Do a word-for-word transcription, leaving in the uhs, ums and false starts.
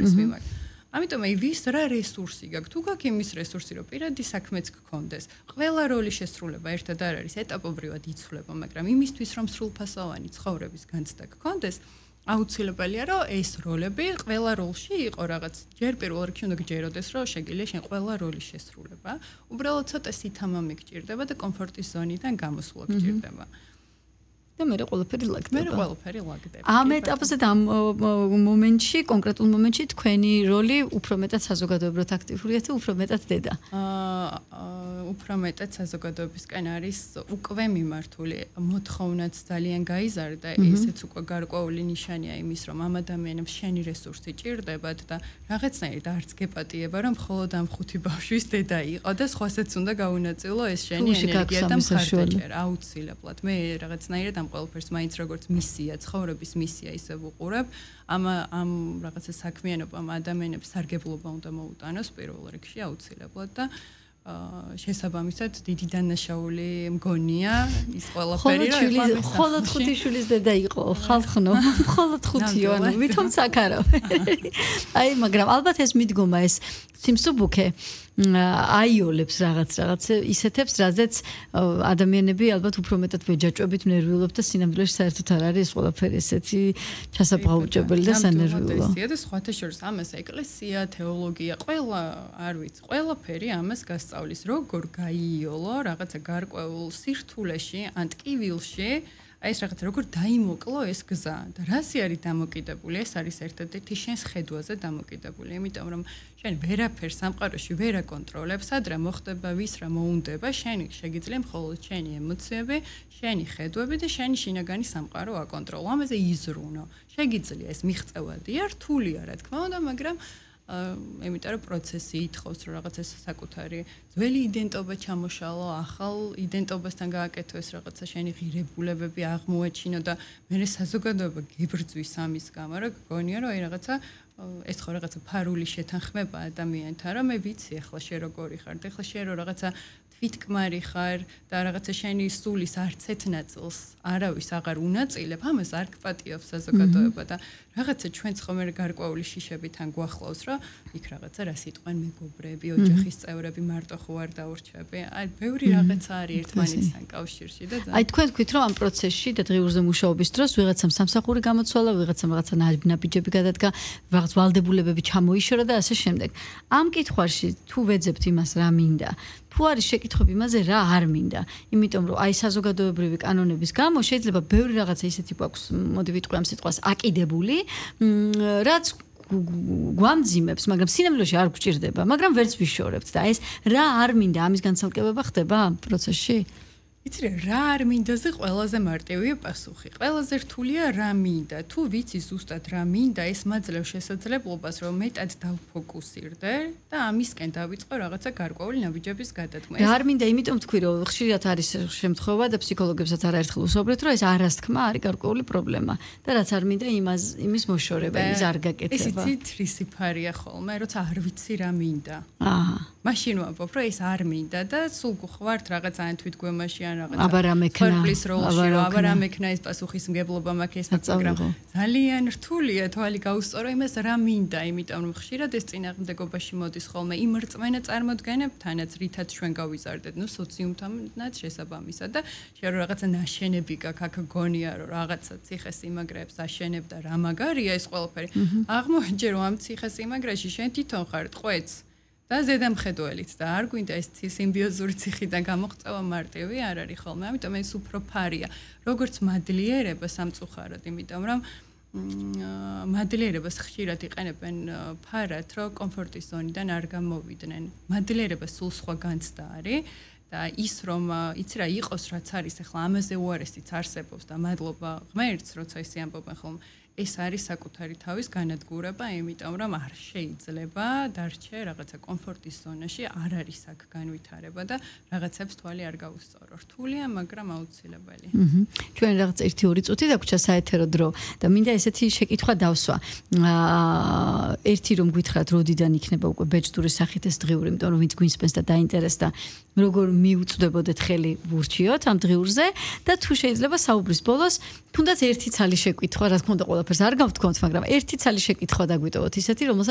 მიმართ. ამიტომ აი ვის რა რესურსი გაქვს? თუ გაქვს იმის რესურსი, რომ პირადი საქმეც გქონდეს, ყველა როლი შესრულება ერთად არ არის, ეტაპობრივად იცვლება, მაგრამ იმისთვის რომ სრულფასოვანი ცხოვრების განცდა გქონდეს, აუცილებელია რომ ეს როლები ყველა როლში იყო რაღაც ჯერ პირველ რიგში უნდა გჯეროდეს რომ შეგიძლია შენ ყველა როლის შესრულება უბრალოდ ცოტა სითამამი გჭირდება და კომფორტის ზონიდან გამოსვლა გჭირდება და მე ყველაფერი ლაგდება. მე ყველაფერი ლაგდება. ამ ეტაპზე და ამ მომენტში, კონკრეტულ მომენტში თქვენი როლი უფრო მეტად საზოგადოებრივად აქტიურია თუ უფრო მეტად დედა? აა უფრო მეტად საზოგადოებისკენ არის უკვე მიმართული. მოთხოვნაც ძალიან გაიზარდა, ესეც უკვე გარკვეული ნიშანია იმის, რომ ამ ადამიანებს შენი რესურსი ჭირდებათ და რაღაცნაირად არც გეპატიება, რომ მხოლოდ ამ ხუთი ბავშვის დედა იყო და სხვასაც უნდა გაუნაწილო ეს შენი ენერგია და მხარდაჭერა აუცილებლად. მე რაღაცნაირად ამ ყველაფერს მაინც როგორც მისია, ცხოვრების მისია ისე ვუყურებ. ამ ამ რაღაცა საქმიანობამ ადამიანებს სარგებლობა უნდა მოუტანოს პირველ რიგში აუცილებლად და შესაბამისად დიდი დანაშაული მგონია ის ყველაფერი რომ მხოლოდ ხუთი შვილის დედა იყო ხალხნო მხოლოდ ხუთიო ანუ ვითომ საკარავე აი მაგრამ ალბათ ეს მიდგომა ეს სიმსუბუქე აიოლებს რაღაც რაღაც ისეთებს რაზეც ადამიანები ალბათ უფრო მეტად ვეჯაჭვებით ნერვიულობთ და სინამდვილეში საერთოდ არ არის ყველაფერი ესეთი ჩასაბღაუჭებელი და სანერვიულო და სხვათა შორის ამას ეკლესია თეოლოგია ყველა არ ვიცი ყველაფერი ამას გასწავლის როგორ გაიოლო რაღაცა გარკვეულ სირთულეში ან ტკივილში აი ეს რაღაც როგორ დაიმოკლო ეს გზა და რასი არის დამოკიდებული ეს არის ერთადერთი შენს ხედვაზე დამოკიდებული იმიტომ რომ შენ ვერაფერს სამყაროში ვერ აკონტროლებ სად რა მოხდება ვის რა მოუნდება შენი შეგიძლია მხოლოდ შენი ემოციები შენი ხედვები და შენი შინაგანი სამყარო აკონტროლო ამაზე იზრუნო შეგიძლია ეს მიღწევადია რთულია რა თქმა უნდა მაგრამ იმიტომ რომ პროცესი ითხოვს რომ რაღაც ეს საკუთარი ძველი იდენტობა ჩამოშალო, ახალ იდენტობასთან გააკეთოს რაღაცა შენი ღირებულებები აღმოაჩინო და მე საზოგადოება გიბრძვის ამის გამო რა გგონია რომ აი რაღაცა ეს ხო რაღაცა ფარული შეთანხმება ადამიანთან რომ მე ვიცი ახლა შე როგორი ხარ და ახლა შე რო რაღაცა თვითკმარი ხარ და რაღაცა შენი სულის არც ერთ ნაწილს არავის აღარ უნაწილებ ამას არ გპატიობს საზოგადოება და რაღაცა ჩვენც ხომ გარკვეული შიშები თან გვახლავს რომ იქ რაღაცა რა სიტყვენ მეგობრები ოჯახის წევრები მარტო ხო არ დაურჩები აი ბევრი რაღაცა არის ერთმანეთთან კავშირში და აი თქვენ თქვით რომ ამ პროცესში და დღიურზე მუშაობის დროს ვიღაცამ სამსახური გამოცვალა ვიღაცამ რაღაცა ნაბიჯები გადადგა რაღაც ვალდებულებები ჩამოიშორა და ასე შემდეგ ამ კითხვაში თუ ვეძებთ იმას რა მინდა თუ არის შეკითხვები იმაზე რა არ მინდა იმიტომ რომ აი საზოგადოებრივი კანონების გამო შეიძლება ბევრი რაღაცა ისეთი გვაქვს მოდი ვიტყვი ამ სიტყვას აკიდებული რაც გვამძიმებს მაგრამ სინამდვილეში არ გვჭირდება მაგრამ ვერც ვიშორებთ და ეს რა არ მინდა ამის განცალკევება ხდება ამ პროცესში იცი რა არ მინდაზე ყველაზე მარტივია პასუხი. ყველაზე რთულია რა მინდა. თუ ვიცი ზუსტად რა მინდა, ეს მაძლევს შესაძლებლობას, რომ მეტად დავფოკუსირდე და ამისკენ დავიწყო რაღაცა გარკვეული ნაბიჯების გადადგმა. რა არ მინდა, იმიტომ თქვი, რომ ხშირად არის შემთხვევა და ფსიქოლოგებსაც არაერთხელ უსაუბრეთ, რომ ეს არასთქმა არის გარკვეული პრობლემა და რაც არ მინდა, იმას იმის მოშორება, იმის არ გაკეთება. ეს იცი თრისიფარია ხოლმე, როცა არ ვიცი რა მინდა. აჰა. მაშინ ვამბობ, რომ ეს არ მინდა და სულ გხვართ რაღაც ან თვითგვემაში აბა რა მექნა ფერფლის როლში რომ აბა რა მექნა ეს პასუხისმგებლობა მაქვს ეს მაგრამ ძალიან რთულია თვალი გაუსწორო იმას რა მინდა იმიტომ რომ ხშირად ეს წინააღმდეგობაში მოდის ხოლმე იმ რწმენა წარმოდგენებთანაც რითაც ჩვენ გავიზარდეთ ნუ სოციუმთანაც შესაბამისად და შენ რომ რაღაცა ნაშენები გაქვს აქ გონია რომ რაღაცა ციხესიმაგრეებს აშენებ და რა მაგარია ეს ყველაფერი აღმოჩნდა რომ ამ ციხესიმაგრეში შენ თვითონ ხარ ტყვეც და ზედამხედველით და არ გვინდა ეს სიმბიოზური ციხიდან გამოღწევა მარტივი არ არის ხოლმე ამიტომ ეს უფრო ფარია როგორც მადლიერება სამწუხაროდ იმიტომ რომ მადლიერებას ხშირად იყენებენ ფარად რომ კომფორტის ზონიდან არ გამოვიდნენ მადლიერება სულ სხვა განცდა არის და ის რომ იცი რა იყოს რაც არის ახლა ამაზე უარესიც არსებობს და მადლობა ღმერთს როცა ისე ამბობენ ხოლმე ეს არის საკუთარი თავის განადგურება, იმიტომ რომ არ შეიძლება დარჩე რაღაცა კომფორტის ზონაში, არ არის აქ განვითარება და რაღაცებს თვალი არ გაუსწორო. რთულია, მაგრამ აუცილებელი. აჰა. ჩვენ რაღაც ერთი ორი წუთი დაგვრჩა საეთერო დრო და მინდა ესეთი შეკითხვა დავსვა. აა ერთი რომ გითხრათ, როდიდან იქნება უკვე ბეჭდურის სახით ეს დღიური, იმიტომ რომ ვინც გვინსპენს და დაინტერესდა, როგორ მიუწვდებოდეთ ხელი ვურჩიოთ ამ დღიურზე და თუ შეიძლება საუბრის ბოლოს თუნდაც ერთი ცალი შეკითხვა, რა თქმა უნდა, ყველაფერს არ გავთქვამთ, მაგრამ ერთი ცალი შეკითხვა დაგვიტოვოთ ისეთი, რომელსაც